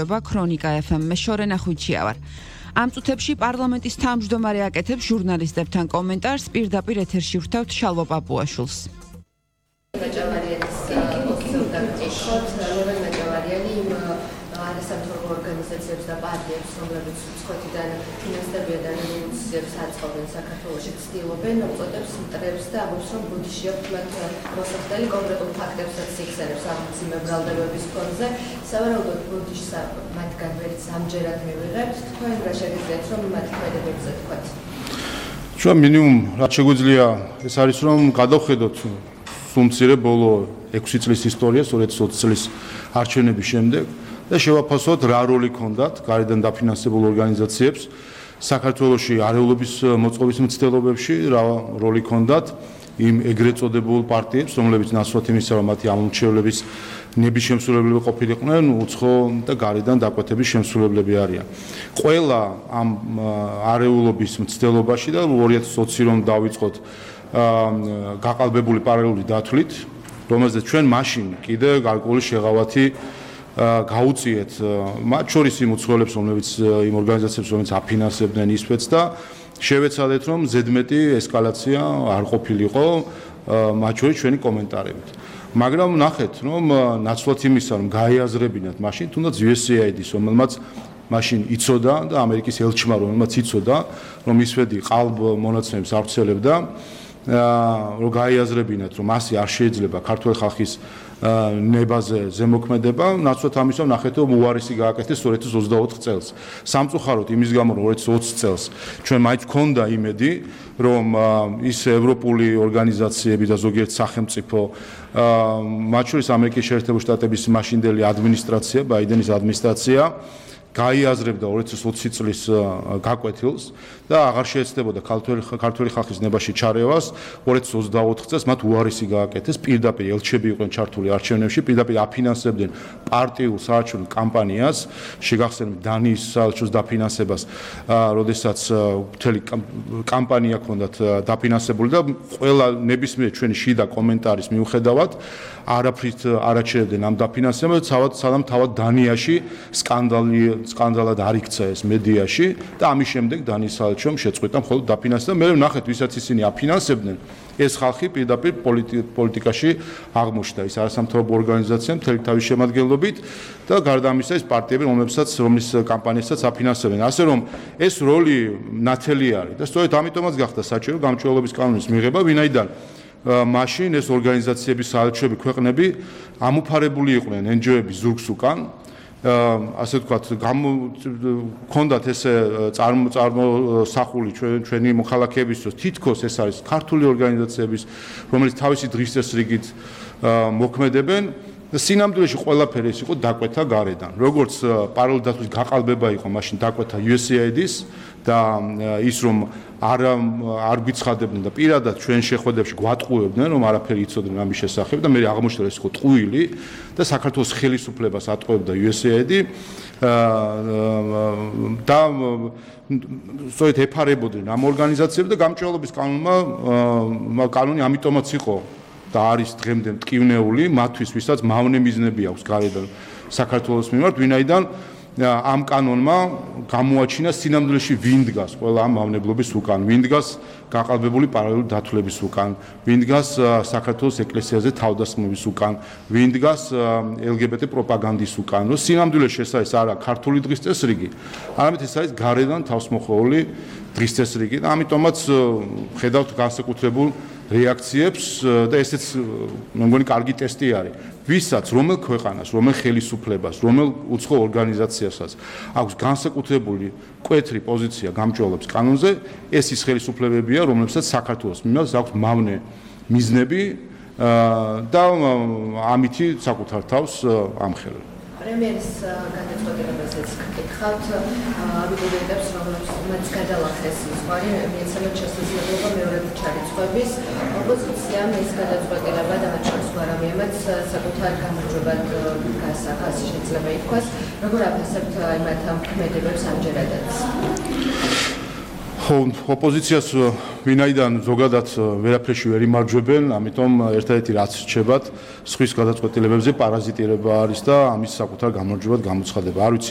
ქრონიკა FM-ში შორენა ხუჩიავარ. ამ წუთებში პარლამენტის თავმჯდომარე აკეთებს ჟურნალისტებთან კომენტარს, პირდაპირ ეთერში ვრთავთ შალვა პაპუაშვილს. არასამთავრობო ორგანიზაციებს და პარტიებს, რომლებიც უცხოეთიდან ფინანსდებიან და რევოლუციებს აწყობენ საქართველოში, ცდილობენ უწოდებს მტრებს და ამბობს, რომ ბუდიში აქვს მათ მოსახდელი კონკრეტულ ფაქტებსაც იქცევს ამციმე ბრალდებების ფონზე. სავარაუდოდ ბუდიშს მათგან ვერც ამჯერად მივიღებთ. თქვენ რა შეგიძლიათ, რომ მათ ქმედებებზე თქვათ? ჩვენ მინიმუმ რაც შეგვიძლია ეს არის, რომ გადავხედოთ სულ ბოლო 6 წლის ისტორია, 20 წლის არჩევნების შემდეგ. და შევაფასოთ რა როლი ჰქონდათ გარედან დაფინანსებულ ორგანიზაციებს საქართველოში არეულობის მოწყობის მცდელობებში, რა როლი ჰქონდათ იმ ეგრეთ წოდებულ პარტიებს, რომლებიც ნაცვლად იმისა, რომ მათი ამორჩევლების ნების შემსრულებლები ყოფილიყვნენ, უცხო და გარედან დაკვეთების შემსრულებლები არიან. ყველა ამ არეულობის მცდელობაში და 2020 რომ დავიწყოთ გაყალბებული პარალელური დათვლით, რომელზეც ჩვენ მაშინ კიდე გარკვეული შეღავათი გაუწიეთ მათ შორის იმ უცხოელებს, რომლებიც იმ ორგანიზაციებს, რომლებიც აფინანსებდნენ ისვეთს და შევეცადეთ, რომ ზედმეტი ესკალაცია არ ყოფილიყო მათ შორის ჩვენი კომენტარებით. მაგრამ ნახეთ, რომ ნაცვლად იმისა, რომ გაეაზრებინათ მაშინ, თუნდაც USAID-ის, რომელმაც მაშინ იცოდა და ამერიკის ელჩმა, რომელმაც იცოდა, რომ ისვეთი ყალბ მონაცემებს ავრცელებდა, რომ გაეაზრებინათ, რომ ასე არ შეიძლება ქართული ხალხის ნებაზე ზემოქმედება, ნაცვლად ამისა ნახეთ, რომ უარესი გააკეთეს 2024 წელს. სამწუხაროდ იმის გამო, რომ 2020 წელს ჩვენ მაინც გქონდა იმედი, რომ ის ევროპული ორგანიზაციები და ზოგიერთ სახელმწიფო, მათ შორის ამერიკის შეერთებული შტატების მაშინდელი ადმინისტრაცია, ბაიდენის ადმინისტრაცია გაიაზრებდა 2020 წლის გაკვეთილს და აღარ შეეცდებოდა ქართული ხალხის ნებაში ჩარევას. 2024 წელს მათ უარესი გააკეთეს, პირდაპირ ელჩები იყვნენ ჩართული არჩევნებში, პირდაპირ აფინანსებდნენ პარტიულ საარჩევნო კამპანიას, შეგახსენებთ დანიის საელჩოს დაფინანსებას, როდესაც მთელი კამპანია ჰქონდათ დაფინანსებული და ყველა ნებისმიერ ჩვენი შიდა კომენტარის მიუხედავად არაფრით არ აჩერებდნენ ამ დაფინანსებას, სანამ თავად დანიაში სკანდალად არ იქცა ეს მედიაში და ამის შემდეგ დანიის საელჩომ შეწყვიტა მხოლოდ დაფინანსება. მე ვნახეთ, ვისაც ისინი აფინანსებდნენ, ეს ხალხი პირდაპირ პოლიტიკაში აღმოჩნდა, ის არასამთავრობო ორგანიზაცია მთელი თავის შემადგენლობით და გარდა ამისა ეს პარტიები, რომლის კამპანიასაც აფინანსებენ. ასე რომ ეს როლი ნათელი არის და სწორედ ამიტომაც გახდა საჭირო გამჭვირვალობის კანონის მიღება, ვინაიდან მაშინ ეს ორგანიზაციების საელჩოები ქვეყნები ამუფარებული იყვნენ NGO-ების ზურგს უკან, ასე ვთქვათ, გქონდათ ესე წარმოსახული ჩვენი მოქალაქეებისთვის, თითქოს ეს არის ქართული ორგანიზაციების, რომელიც თავისი დღის წესრიგით მოქმედებენ. სინამდვილეში ყველაფერი ეს იყო დაკვეთა გარედან. როგორც პარალელური დათვლის გაყალბება იყო მაშინ დაკვეთა USAID-ის და ის რომ არ გვიცხადებდნენ და პირადად ჩვენ შეხვედრებში გვატყუებდნენ, რომ არაფერი იცოდნენ ამის შესახებ და მე აღმოჩნდა ეს იყო ტყუილი და საქართველოს ხელისუფლებას ატყუებდა USAID და სწორედ ეფარებოდნენ ამ ორგანიზაციებს და გამჭვირვალობის კანონი ამიტომაც იყო და არის დღემდე მტკივნეული მათთვის, ვისაც მავნე მიზნები აქვს გარედან საქართველოს მიმართ, ვინაიდან ამ კანონმა გამოაჩინა სინამდვილეში ვინ დგას ყველა ამ მავნებლობის უკან, ვინ დგას გაყალბებული პარალელური დათვლების უკან, ვინ დგას საქართველოს ეკლესიაზე თავდასხმების უკან, ვინ დგას LGBT პროპაგანდის უკან. რომ სინამდვილეში ეს არის არა ქართული დღის წესრიგი, არამედ ეს არის გარედან თავსმოხვეული დღის წესრიგი და ამიტომაც ხედავთ განსაკუთრებულ რეაქციებს და ესეც მე მგონი კარგი ტესტი არის. ვისაც, რომელ ქვეყანას, რომელ ხელისუფლებას, რომელ უცხო ორგანიზაციასაც აქვს განსაკუთრებული მკვეთრი პოზიცია გამჭვირვალობის კანონზე, ეს ის ხელისუფლებებია, რომლებსაც საქართველოს მიმართ აქვს მავნე მიზნები და ამითი საკუთარ თავს ამხელებს. პრემიერის გადაწყვეტილებაზეც გკითხავთ, აბიტურიენტებს, რომლებსაც გადალახეს ზღვარი, მიეცემათ შესაძლებლობა მეორედ ჩარიცხვების. ოპოზიციამ ეს გადაწყვეტილება და მათ შორის გვარამიემაც საკუთარ გამარჯვებად გასახა, ასე შეიძლება ითქვას. როგორ აფასებთ იმათ ამ ქმედებებს ამჯერადაც? ხო, ოპოზიციას ვინაიდან ზოგადად ვერაფერში ვერ იმარჯვებენ, ამიტომ ერთადერთი რაც რჩებათ, სხვის გადაწყვეტილებებზე პარაზიტირება არის და ამის საკუთარ გამარჯვებად გამოცხადება. არ ვიცი